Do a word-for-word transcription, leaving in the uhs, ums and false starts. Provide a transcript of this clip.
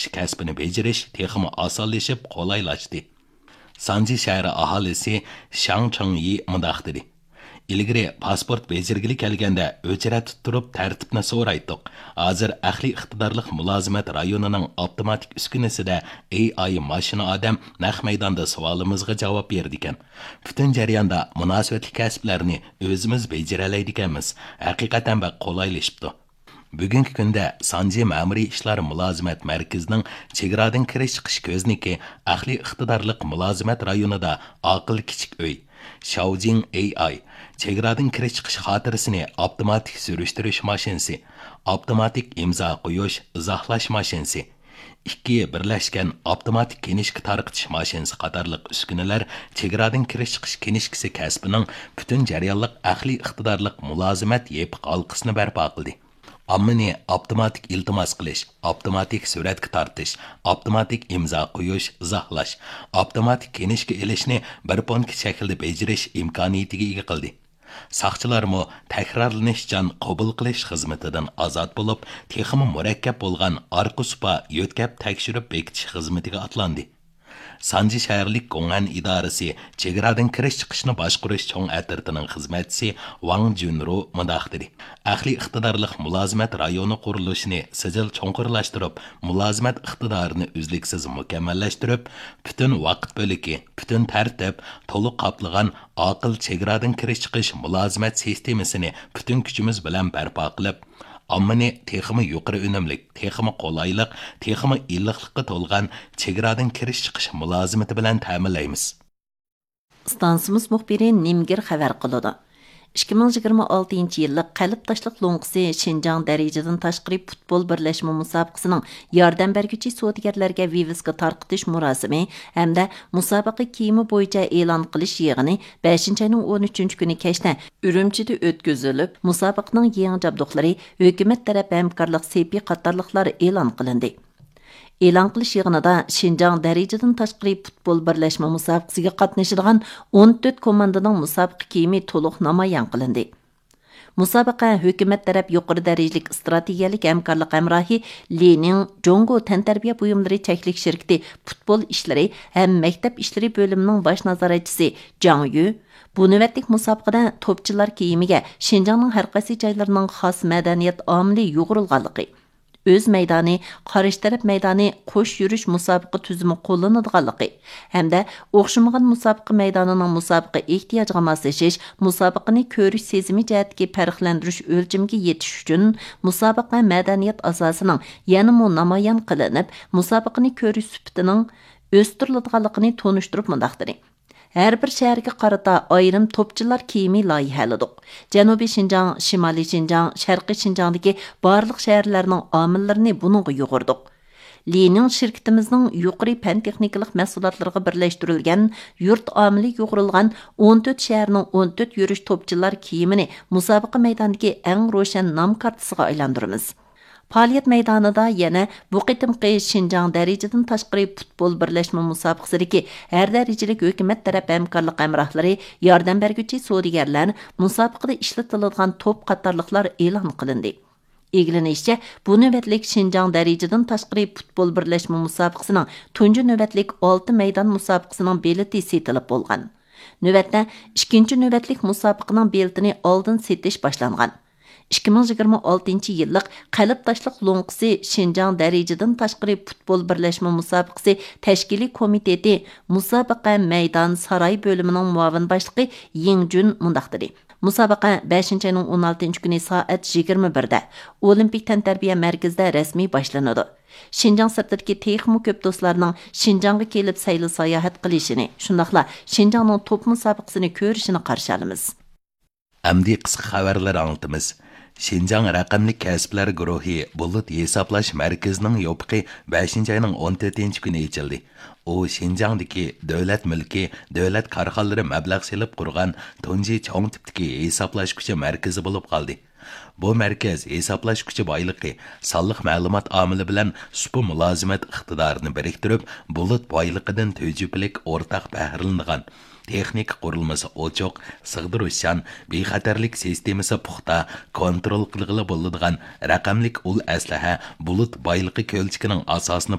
چىقىش كەسپىنى بېجىرىش تېخىمۇ ئاسانلىشىپ، قولايلاشتى. سانجى شەھىرى ئاھالىسى شاڭ چىڭيى مۇنداق دېدى: ئىلگىرى پاسپورت بېجىرگىلى كەلگەندە ئۆچرەتتە تۇرۇپ تەرتىپنى سورايتتۇق. ھازىر ئەقلىي ئىقتىدارلىق مۇلازىمەت رايونىنىڭ ئاپتوماتىك ئۈسكۈنىسىدە ئېي ئاي ماشىنا ئادەم نەق مەيداندا سوئالىمىزغا جاۋاب بېرىدىكەن. پۈتۈن جەرياندا مۇناسىۋەتلىك كەسىپلەرنى ئۆزىمىز بېجىرەلەيدىكەنمىز. ھەقىقەتەن بەك قولايلىشىپتۇ. بۈگۈنكى كۈندە سانجى مەمۇرىي ئىشلار مۇلازىمەت مەركىزىنىڭ چېگرادىن كىرىش چىقىش كۆزنىكى ئەقلىي ئىقتىدارلىق مۇلازىمەت رايونىدا ئاقىل كىچىك ئۆي، شاۋجىڭ ئېي ئاي، چېگرادىن كىرىش چىقىش خاتىرىسىنى ئاپتوماتىك سۈرۈشتۈرۈش ماشىنىسى، ئاپتوماتىك ئىمزا قويۇش، ئىزاھلاش ماشىنىسى، ئىككى بىرلەشكەن ئاپتوماتىك كىنىشكا تارقىتىش ماشىنىسى قاتارلىق ئۈسكۈنىلەر چېگرادىن كىرىش چىقىش كىنىشكىسى كەسپىنىڭ پۈتۈن جەريانلىق ئەقلىي ئىقتىدارلىق مۇلازىمەت يېپىق ھالقىسىنى بەرپا قىلدى. ئاممىنى ئاپتوماتىك ئىلتىماس قىلىش، ئاپتوماتىك سۈرەتكە تارتىش، ئاپتوماتىك ئىمزا قويۇش، ئىزاھلاش، ئاپتوماتىك كىنىشكا ئېلىشنى بىر پونكىت شەكلىدە بېجىرىش ئىمكانىيىتىگە ئىگە قىلدى. ساقچىلارمۇ تەكرارلىنىشچان قوبۇل قىلىش خىزمىتىدىن ئازاد بولۇپ، تېخىمۇ مۇرەككەپ بولغان ئارقا سۇپا يۆتكەپ تەكشۈرۈپ بېكىتىش خىزمىتىگە ئاتلاندى. سانجى شەھەرلىك گوڭئەن ئىدارىسى چېگرادىن كىرىش چىقىشنى باشقۇرۇش چوڭ ئەترىتىنىڭ خىزمەتچىسى ۋاڭ جۈنرۇ مۇنداق دېدى: ئەقلىي ئىقتىدارلىق مۇلازىمەت رايونى قۇرۇلۇشىنى سىجىل چوڭقۇرلاشتۇرۇپ، مۇلازىمەت ئىقتىدارىنى ئۈزلۈكسىز مۇكەممەللەشتۈرۈپ، پۈتۈن ۋاقىت بۆلىكى، پۈتۈن تەرتىپ، تولۇق قاپلىغان ئاقىل چېگرادىن كىرىش چىقىش مۇلازىمەت سىستېمىسىنى پۈتۈن كۈچىمىز بىلەن بەرپا قىلىپ، ئاممىنى تېخىمۇ يۇقىرى ئۈنۈملۈك، تېخىمۇ قولايلىق، تېخىمۇ ئىللىقلىققا تولغان چېگرادىن كىرىش چىقىش مۇلازىمىتى بىلەن تەمىنلەيمىز. ئىستانسىمىز مۇخبىرى نىمگىر خەۋەر قىلىدۇ. ئىككى مىڭ يىگىرمە ئالتىنچى يىللىق قەلب تاشلىق لوڭقىسى شىنجاڭ دەرىجىدىن تاشقىرى پۇتبول بىرلەشمە مۇسابىقىسىنىڭ ياردەم بەرگۈچى سودىگەرلەرگە ۋىۋىسكا تارقىتىش مۇراسىمى ھەمدە مۇسابىقە كىيىمى بويىچە ئېلان قىلىش يىغىنى بەشىنچى ئاينىڭ ئون ئۈچىنچى كۈنى كەچتە ئۈرۈمچىدە ئۆتكۈزۈلۈپ، مۇسابىقىنىڭ يېڭى جابدۇقلىرى، ھۆكۈمەت تەرەپ ھەمكارلىق سېپى قاتارلىقلار ئېلان قىلىندى. ئېلان قىلىش يىغىنىدا شىنجاڭ دەرىجىدىن تاشقىرى پۇتبول بىرلەشمە مۇسابىقىسىگە قاتنىشىدىغان ئون تۆت كوماندىنىڭ مۇسابىقە كىيىمى تولۇق نامايان قىلىندى. مۇسابىقە ھۆكۈمەت تەرەپ يۇقىرى دەرىجىلىك ئىستراتېگىيەلىك ھەمكارلىق ھەمراھى لىنىڭ جۇڭگو تەنتەربىيە بۇيۇملىرى چەكلىك شىركىتى پۇتبول ئىشلىرى ھەم مەكتەپ ئىشلىرى بۆلۈمىنىڭ باش نازارەتچىسى جاڭ يۈ بۇ نۆۋەتلىك مۇسابىقىدە توپچىلار كىيىمىگە شىنجاڭنىڭ ھەر قايسى جايلىرىنىڭ خاس مەدەنىيەت ئامىلى يۇغۇرۇلغانلىقى، ئۆز مەيدانى، قارشى تەرەپ مەيدانى، قوش يۈرۈش مۇسابىقە تۈزۈمى قوللىنىدىغانلىقى ھەمدە ئوخشىمىغان مۇسابىقە مەيدانىنىڭ مۇسابىقە ئېھتىياجىغا ماسلىشىش، مۇسابىقىنى كۆرۈش سېزىمى جەھەتتىكى پەرقلەندۈرۈش ئۆلچىمىگە يېتىش ئۈچۈن مۇسابىقە مەدەنىيەت ئاساسىنىڭ يەنىمۇ نامايان قىلىنىپ، مۇسابىقىنى كۆرۈش سۈپىتىنىڭ ئۆستۈرۈلىدىغانلىقىنى تونۇشتۇرۇپ مۇنداق دېدى. ھەر بىر شەھەرگە قارىتا ئايرىم توپچىلار كىيىمى لايىھەلىدۇق. جەنۇبىي شىنجاڭ، شىمالىي شىنجاڭ، شەرقىي شىنجاڭدىكى بارلىق شەھەرلەرنىڭ ئامىللىرىنى بۇنىڭغا يۇغۇردۇق. لىنىڭ شىركىتىمىزنىڭ يۇقىرى پەن تېخنىكىلىق مەھسۇلاتلىرىغا بىرلەشتۈرۈلگەن يۇرت ئامىلى يۇغۇرۇلغان ئون تۆت شەھەرنىڭ ئون تۆت يۈرۈش توپچىلار كىيىمىنى مۇسابىقە مەيدانىدىكى ئەڭ روشەن نام كارتىسىغا ئايلاندۇرىمىز. پائالىيەت مەيدانىدا يەنە بۇ قېتىمقى شىنجاڭ دەرىجىدىن تاشقىرى پۇتبول بىرلەشمە مۇسابىقىسىدىكى ھەر دەرىجىلىك ھۆكۈمەت تەرەپ ھەمكارلىق ھەمراھلىرى، ياردەم بەرگۈچى سودىگەرلەر، مۇسابىقىدە ئىشلىتىلىدىغان توپ قاتارلىقلار ئېلان قىلىندى. ئىگىلىنىشىچە، بۇ نۆۋەتلىك شىنجاڭ دەرىجىدىن تاشقىرى پۇتبول بىرلەشمە مۇسابىقىسىنىڭ تۇنجى نۆۋەتلىك ئالتە مەيدان مۇسابىقىسىنىڭ بېلىتى سېتىلىپ بولغان. نۆۋەتتە، ئىككىنچى نۆۋەتلىك مۇسابىقىنىڭ بېلىتىنى ئالدىن سېتىش باشلانغان. ئىككى مىڭ يىگىرمە ئالتىنچى يىللىق قەلب تاشلىق لوڭقىسى شىنجاڭ دەرىجىدىن تاشقىرى پۇتبول بىرلەشمە مۇسابىقىسى تەشكىلىي كومىتېتى مۇسابىقە مەيدان ساراي بۆلۈمىنىڭ مۇئاۋىن باشلىقى يىڭ جۈن مۇنداق دېدى: مۇسابىقە بەشىنچى ئاينىڭ ئون ئالتىنچى كۈنى سائەت يىگىرمە بىردە ئولىمپىك تەنتەربىيە مەركىزىدە رەسمىي باشلىنىدۇ. شىنجاڭ سىرتىدىكى تېخىمۇ كۆپ دوستلارنىڭ شىنجاڭغا كېلىپ سەيلە ساياھەت قىلىشىنى، شۇنداقلا شىنجاڭنىڭ توپ مۇسابىقىسىنى كۆرۈشىنى قارشى ئالىمىز. ئەمدى قىسقا خەۋەرلەر ئاڭلىتىمىز. شىنجاڭ رەقەملىك كەسىپلەر گۇرۇھى بۇلۇت ھېسابلاش مەركىزىنىڭ يوپۇقى بەشىنچى ئاينىڭ ئون تۆتىنچى كۈنى ئېچىلدى. ئۇ شىنجاڭدىكى دۆلەت مۈلكى، دۆلەت كارخانىلىرى مەبلەغ سېلىپ قۇرغان تۇنجى چوڭ تىپتىكى ھېسابلاش كۈچى مەركىزى بولۇپ قالدى. بۇ مەركەز ھېسابلاش كۈچى بايلىقى، سانلىق مەلۇمات ئامىلى بىلەن سۇپا مۇلازىمەت ئىقتىدارىنى بىرىكتۈرۈپ، بۇلۇت بايلىقىدىن تۈجۈپىلىك ئورتاق بەھرىلىنىدىغان، تېخنىكا قۇرۇلمىسى ئوچۇق، سىغدۇرۇشچان، بىخەتەرلىك سىستېمىسى پۇختا، كونترول قىلغىلى بولىدىغان رەقەملىك ئۇل ئەسلىھە بۇلۇت بايلىقى كۆلچىكىنىڭ ئاساسىنى